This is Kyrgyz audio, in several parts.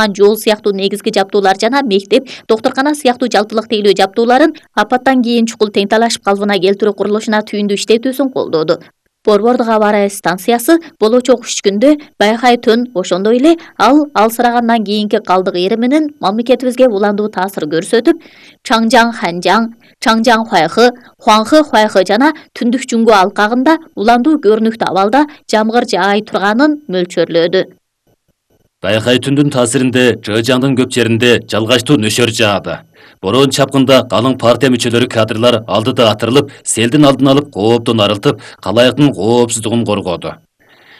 жол сыяктуу негизги жабдуулар жана мектеп, доктуркана сыяктуу жалпылык тейлөө жабдууларын апаттан кийин чукул тең талашып калыбына келтирүү курулушуна түйүндү иштетүүсүн колдоду. Борбордук аба ырайы станциясы болочок 3 күндө байкай төн, ошондой эле ал алсырагандан кийинки калдык эри менен мамлекетибизге уландуу таасир көрсөтүп, Чаңжаң Ханжаң, Чаңжаң Хуайхы, Хуаңхы Хуайхы жана түндүк Жүнгө алкагында уландуу көрүнүктүү абалда жамгыр жаай турганын мөлчөрлөдү. Байкай түндүн таасиринде Чыжаңдын көп жеринде жалгачтуу нөшөр жаады. Бороон чапкында калың партия мүчөлөрү кадрлар алдыда атырылып, селдин алдын алып, кооптон арылтып, калайыктын коопсуздугун коргоду.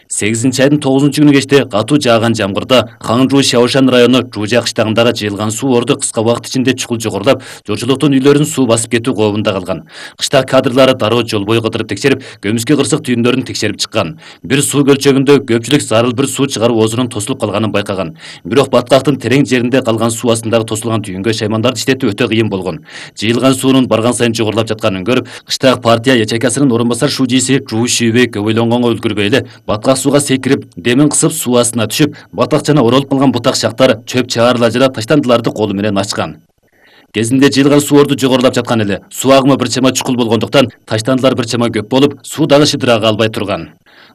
8-айдын 9-күнү кечте катуу жааган жамгырда Хаңжуу Шаошан району Жужа кыштагындагы жыйылган суу орду кыска убакыт ичинде чукул жогорулап, журчулуктун үйлөрүн суу басып кетүү кообунда калган. Кыштак кадрлары дароо жол бою кыдырып текшерип, көмүскө кырсык түйүндөрүн текшерип чыккан. Бир суу көлчөгүндө көпчүлүк зарыл бир суу чыгаруу оозунун тосулуп калганын байкаган. Бирок баткактын терең жеринде калган суу астындагы тосулган түйүнгө шаймандарды иштетүү өтө кыйын болгон. Жыйылган суунун барган сайын жогорулап жатканын көрүп, кыштак партия ячейкасынын орун басар шужиси Жуу Шүйбей көбөйлөнгөнгө үлгүрбөй эле баткак сууга секирип, демин кысып суу астына түшүп, батакчана оролуп калган бутак шактар, чөп чаарла жана таштандыларды колу менен ачкан. Кезинде жыйылган суу орду жогорулап жаткан эле. Суу агымы бир чама чукул болгондуктан таштандылар бир чама көп болуп, суу дагы шыдырага албай турган.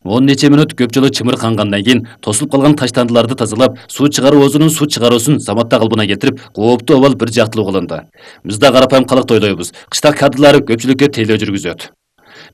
10 нече мүнөт көп жолу чымыркангандан кийин тосулуп калган таштандыларды тазалап, суу чыгаруу оозунун суу чыгаруусун заматта калыбына келтирип, кооптуу абал бир жактылуу кылынды. Биз да карапайым калыкты ойлойбуз. Кыштак кадрлары көпчүлүккө тейлөө жүргүзөт.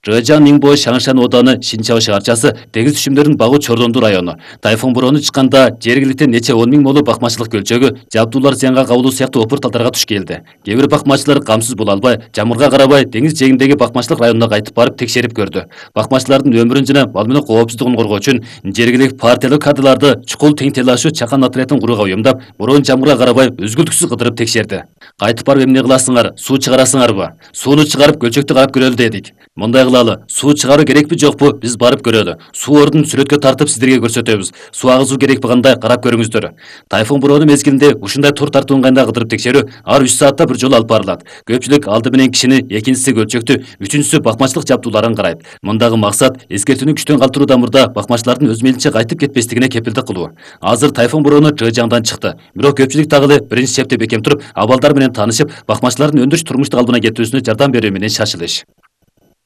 Чыжаң Нingbo Шаңшан ооданы Шинчао шаарчасы деңиз түшүмдөрүн багуу Чордондуу району. Тайфун бороону чыкканда жергиликте нече 10 миң молу бакмачылык көлчөгү, жабдуулар зыянга кабылуу сыяктуу опур талдарга туш келди. Кээ бир бакмачылар камсыз боло албай, жамгырга карабай деңиз жээгиндеги бакмачылык районуна кайтып барып текшерип көрдү. Бакмачылардын өмүрүн жана мал менен коопсуздугун коргоо үчүн жергиликтик партиялык кадрларды чукул тең телашуу чакан отрядын курууга уюмдап, бороон жамгырга карабай үзгүлтүксүз кыдырып текшерди. Кайтып барып эмне кыласыңар? Суу чыгарасыңарбы? Сууну чыгарып көлчөктү карап көрөлү дедик. Мындай кылалы, суу чыгаруу керекпи жокпу? Биз барып көрөлү. Суу ордун сүрөткө тартып сиздерге көрсөтөбүз. Суу агызуу керекпи кандай карап көрүңүздөр. Тайфун бороону мезгилинде ушундай тур тартуу ыңгайында кыдырып текшерүү ар 3 саатта бир жолу алып барылат. Көпчүлүк алды менен кишини, экинчиси көлчөктү, үчүнчүсү бакмачылык жабдууларын карайт. Мындагы максат эскертүүнү күчтөн калтыруу дамырда бакмачылардын өз мейлинче кайтып кетпестигине кепилдик кылуу. Азыр тайфун бороону Чыжаңдан чыкты. Бирок көпчүлүк дагы эле биринчи чепте бекем туруп, абалдар менен таанышып, бакмачылардын өндүрүш турмуштук калыбына келтирүүсүнө жардам берүү менен шашылыш.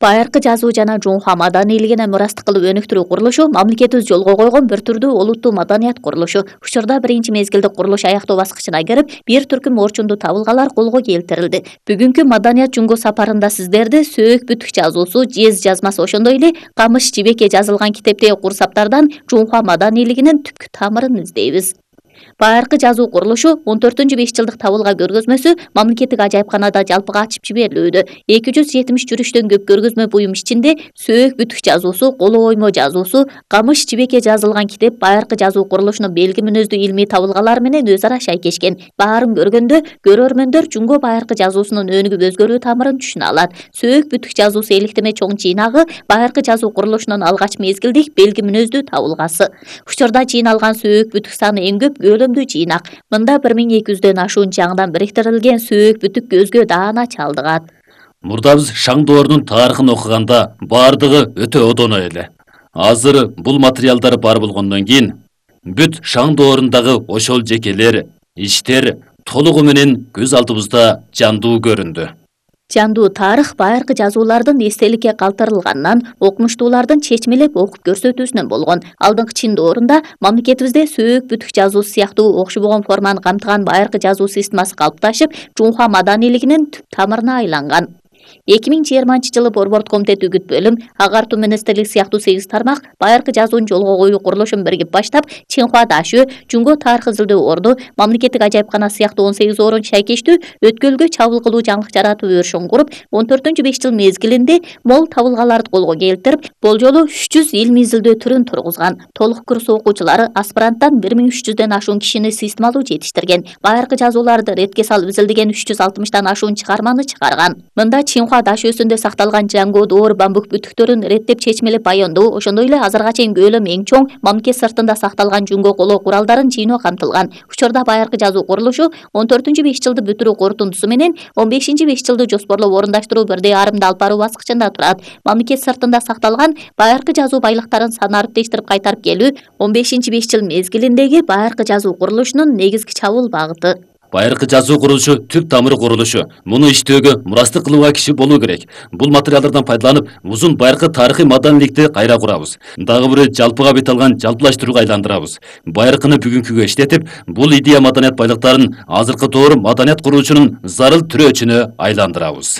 Байыркы жазуу жана Жунхва маданийлигине мурастык кылып өнүктүрүү курулушу мамлекетибиз жолго койгон бир түрдүү олуттуу маданият курулушу. Учурда биринчи мезгилде курулуш аяктоо баскычына кирип, бир түркүм орчундуу табылгалар колго келтирилди. Бүгүнкү маданият Жунго сапарында сиздерди Сөөк бүтүк жазуусу, жез жазмасы ошондой эле Камыш Жибекке жазылган китептеги курсаптардан Жунхва маданийлигинин түпкү тамырын издейбиз. Байыркы жазуу курулушу 14-5 жылдык табылга көргөзмөсү мамлекеттик ажайыпканада жалпыга ачып жиберилүүдө. 270 жүрүштөн көп көргөзмө буюм ичинде Сөөк бүтүк жазуусу, Коло оймо жазуусу, Камыш Жибекке жазылган китеп байыркы жазуу курулушунун белги мүнөздүү илмий табылгалары менен өз ара шайкешкен. Баарын көргөндө көрөрмөндөр Жунго байыркы жазуусунун өнүгүп өзгөрүү тамырын түшүнө алат. Сөөк бүтүк жазуусу электеме чоң жыйнагы байыркы жазуу курулушунун алгач мезгилдик белги мүнөздүү табылгасы. Учурда жыйналган Сөөк бүтүк саны эң көп өлөмдүү жыйнак. Мында 1200дөн ашуун чаңдан бириктирилген Сөөк бүтүк көзгө даана чалдыгат. Мурдабыз Шаң доорунун тарыхын окуганда баардыгы өтө одоно эле. Азыр бул материалдар бар болгондон кийин бүт Шаң доорундагы ошол жекелер, иштер толугу менен көз алдыбызда жандуу көрүндү. Жандуу тарых байыркы жазуулардын эстеликке калтырылганынан, окумуштуулардын чечмелеп окуп көрсөтүүсүнөн болгон. Алдыңкы чин доорунда мамлекетибизде Сөөк бүтүк жазуусу сыяктуу окшобогон форманы камтыган байыркы жазуу системасы калыпташып, Жунхва маданийлигинин түп тамырына айланган. 2020-жылы Борбордук комитет үгүт бөлүм, агартуу министрлик сыяктуу 8 тармак байыркы жазуун жолго коюу курулушун биригип баштап, Чинхуа Дашө, Жунго тарых изилдөө орду, мамлекеттик ажайыпкана сыяктуу 18 орун шайкештүү өткөлгө чабуул кылуу жаңылык жаратуу өрүшүн куруп, 14-5 жыл мезгилинде мол табылгаларды колго келтирип, болжолу 300 илмий изилдөө түрүн тургузган. Толук курс окуучулары аспиранттан 1300дөн ашуун кишини системалуу жетиштирген. Байыркы жазууларды ретке салып изилдеген 360дан ашуун чыгарманы чыгарган. Мында Чинхуа даш өсүндө сакталган жаңгоо доор бамбук бүтүктөрүн реттеп чечмелеп баяндоо, ошондой эле азырга чейин көлөмү эң чоң мамлекет сыртында сакталган жүнгө колоо куралдарын жыйноо камтылган. Учурда байыркы жазуу курулушу 14-5 жылды бүтүрүү корутундусу менен 15-5 жылды жоспорлоп орундаштыруу бирдей арымды алып баруу баскычында турат. Мамлекет сыртында сакталган байыркы жазуу байлыктарын санариптештирип кайтарып келүү 15-5 жыл мезгилиндеги байыркы жазуу курулушунун негизги чабуул багыты. Байыркы жазуу курулушу түп тамыры курулушу. Муну иштөөгө мурастык кылууга киши болуу керек. Бул материалдардан пайдаланып, узун байыркы тарыхый маданийликти кайра курабыз. Дагы бирөө жалпыга бет алган жалпылаштырууга айландырабыз. Байыркыны бүгүнкүгө иштетип, бул идея маданият байлыктарын азыркы доор маданият куруучунун зарыл түрөөчүнө айландырабыз.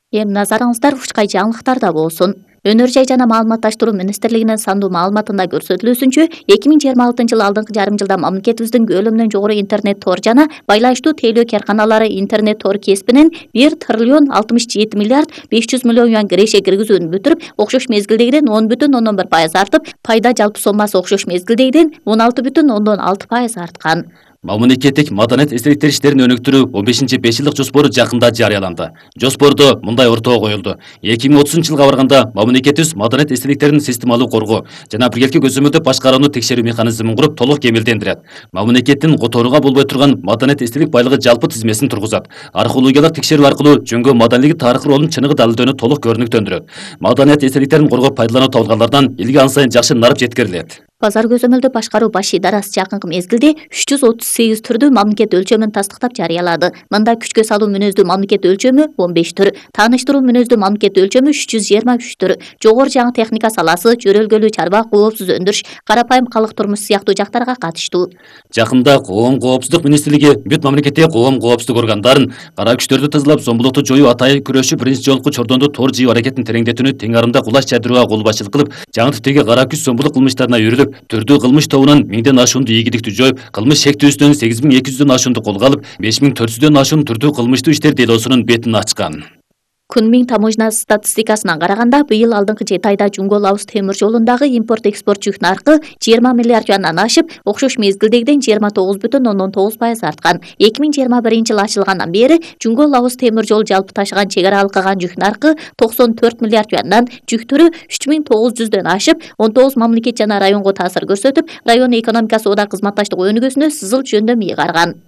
Эми назарыңыздар ушкай жаңылыктарда болсун. Өнөр жай жана маалыматташтыруу министрлигинин сандуу маалыматында көрсөтүлүүсүнчө, 2026 алдыңкы жарым жылда мамлекетибиздин көлөмүнөн жогору интернет тор жана байланыштуу тейлөө карканалары интернет тор кесибинен 1 триллион 67 миллиард 500 миллион юан киреше киргизүүнү бүтүрүп, окшош мезгилдегиден 10,1% артып, пайда жалпы соммасы окшош мезгилдегиден 16,6% арткан. Мамлекеттик маданият эстеликтер иштерин өнүктүрүү 15-5 жылдык жоспору жакында жарыяланды. Жоспордо мындай ортого коюлду. 2030 жылга барганда мамлекетибиз маданият эстеликтерин системалуу коргоо жана биргеликти көзөмөлдөп башкарууну текшерүү механизмин куруп толук кемелдендирет. Мамлекеттин которууга болбой турган маданият эстелик байлыгы жалпы тизмесин тургузат. Археологиялык текшерүү аркылуу жөнгө маданилиги тарыхый ролун чыныгы далилдөөнү толук көрүнүктөндүрөт. Маданият эстеликтерин коргоп пайдалануу табылгандардан илге ан сайын жакшы нарып жеткирилет. Базар көзөмөлдөө башкаруу баш идарасы жакынкы мезгилде 338 түрдүү мамлекет өлчөмүн тастыктап жарыялады. Мында күчкө салуу мүнөздүү мамлекет өлчөмү 15 түр, тааныштыруу мүнөздүү мамлекет өлчөмү 323 түр, жогору жаңы техника саласы, жөрөлгөлүү чарба, коопсуз өндүрүш, карапайым калк турмуш сыяктуу жактарга катыштуу. Жакында Коом коопсуздук министрлиги бүт мамлекеттеги коом коопсуздук органдарын кара күчтөрдү тазалап, зомбулукту жоюу атайын күрөшү биринчи жолку чордондо тор жыйуу аракетин тереңдетүүнү тең арымда кулаш жайдырууга кол башчылык кылып, жаңы типтеги кара күч зомбулук кылмыштарына үйрүлүп, түрдүү кылмыш тобунан 1000ден ашуунду ийгиликтүү жоюп, кылмыш шектүүсүнөн 8200дөн ашуунду колго алып, 5400дөн ашуун түрдүү кылмыштуу иштер делосунун бетин ачкан. Кунмиң таможня статистикасына караганда, быйыл алдыңкы 7 айда Жунгол-Лаос темир жолундагы импорт-экспорт жүк наркы 20 миллиард юандан ашып, окшош мезгилдегиден 29,9% арткан. 2021 жыл ачылгандан бери Жунгол-Лаос темир жол жалпы ташыган чек ара алкаган жүк наркы 94 миллиард юандан, жүк түрү 3900дөн ашып, 19 мамлекет жана районго таасир көрсөтүп, район экономикасы ода кызматташтык өнүгүүсүнө сызыл жөндөм ыйгарган.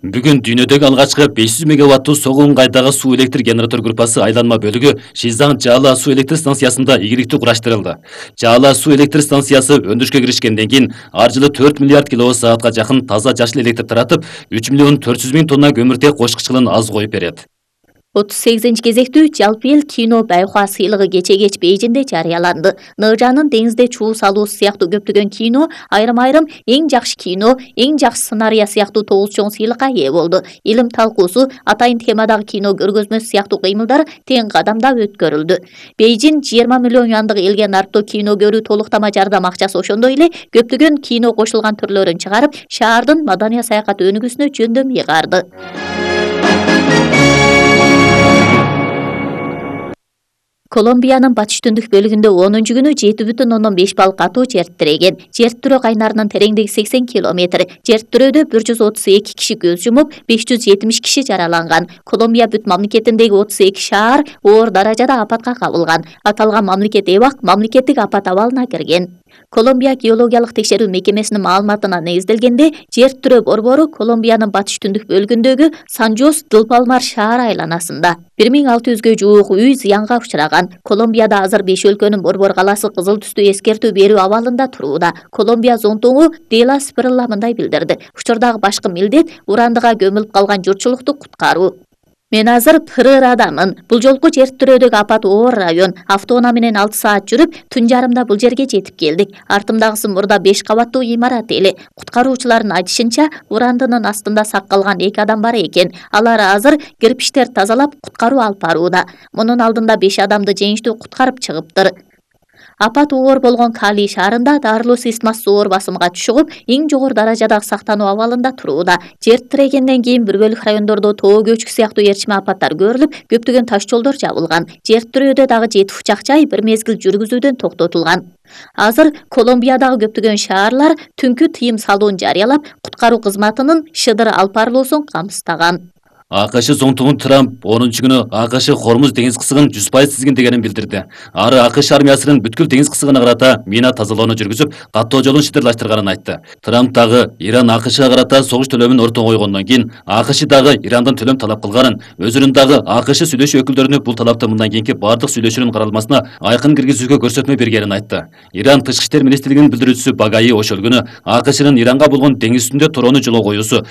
Бүгүн дүйнөдөгү алгачкы 500 мегаваттуу Согунгайдагы суу электр генератор группасы айланма бөлүгү Шизаң Жаала суу электр станциясында ийгиликтүү кураштырылды. Жаала суу электр станциясы өндүрүшкө киришкенден кийин ар жылы 4 миллиард киловатт саатка жакын таза жашыл электр таратып, 3 миллион 400 миң тонна көмүртек кошкучулун аз коюп берет. 38-кезектүү жалпы эл кино Байхуа сыйлыгы кече кеч Бейжинде жарыяланды. Ныжанын деңизде чуу салуу сыяктуу көптөгөн кино, айрым-айрым эң жакшы кино, эң жакшы сценарий сыяктуу 9 чоң сыйлыкка ээ болду. Илим талкуусу, атайын темадагы кино көргөзмөсү сыяктуу кыймылдар тең кадамда өткөрүлдү. Бейжин 20 миллион юандык элге нарптоо кино көрүү толуктама жардам акчасы, ошондой эле көптөгөн кино кошулган түрлөрүн чыгарып, шаардын маданий саякат өнүгүүсүнө жөндөм ыйгарды. Колумбиянын батыш түндүк бөлүгүндө 10-күнү 7,5 балл катуу жер тиреген. Жер тирөө кайнарынын тереңдиги 80 километр. Жер тирөөдө 132 киши көз жумуп, 570 киши жараланган. Колумбия бүт мамлекетиндеги 32 шаар оор даражада апатка кабылган. Аталган мамлекет эбак мамлекеттик апат абалына кирген. Колумбия геологиялык текшерүү мекемесинин маалыматына негизделгенде, жер тирөө борбору Колумбиянын батыш түндүк бөлүгүндөгү Сан-Жос-дыл-Палмар шаар айланасында 1600гө жуук үй зыянга учураган. Колумбияда азыр 5 өлкөнүн борбор калаасы кызыл түстүү эскертүү берүү абалында турууда. Колумбия зонтугу Дела Спирилла мындай билдирди. Учурдагы башкы милдет урандыга көмүлүп калган журтчулукту куткаруу. Мен азыр Пырырадамын. Бул жолку жер тирөөдөгү апат оор район. Автоунаа менен 6 саат жүрүп, түн жарымда бул жерге жетип келдик. Артымдагысы мурда 5 кабаттуу имарат эле. Куткаруучулардын айтышынча, урандынын астында сак калган 2 адам бар экен. Алар азыр кирпичтер тазалап, куткаруу алып барууда. Мунун алдында 5 адамды жеңиштүү куткарып чыгыптыр. Апат оор болгон Кали шаарында дарылуу системасы зоор басымга түшүп, эң жогору даражадагы сактануу абалында турууда. Жер тирегенден кийин бир бөлүк райондордо тоо көчкү сыяктуу ээрчиме апаттар көрүлүп, көптөгөн таш жолдор жабылган. Жер тирөөдө дагы 7 учак жай бир мезгил жүргүзүүдөн токтотулган. Азыр Колумбиядагы көптөгөн шаарлар түнкү тыйым салуун жарыялап, куткаруу кызматынын шыдыр алып барылуусун камсыздаган. АКШ зонтугун Трамп 10-күнү АКШ Хормуз деңиз кысыгын 100% тизгиндегенин билдирди. Ары АКШ армиясынын бүткүл деңиз кысыгына карата мина тазалоону жүргүзүп, каттоо жолун шидырлаштырганын айтты. Трамп дагы Иран АКШга карата согуш төлөмүн ортого койгондон кийин АКШ дагы Ирандан төлөм талап кылганын, өзүнүн дагы АКШ сүйлөшүү өкүлдөрүнө бул талапты мындан кийинки бардык сүйлөшүүнүн каралмасына айкын киргизүүгө көрсөтмө бергенин айтты. Иран Тышкы иштер министрлигинин билдирүүчүсү Багаи ошол күнү АКШнын Иранга болгон деңиз үстүндө төрөнү жолго коюусу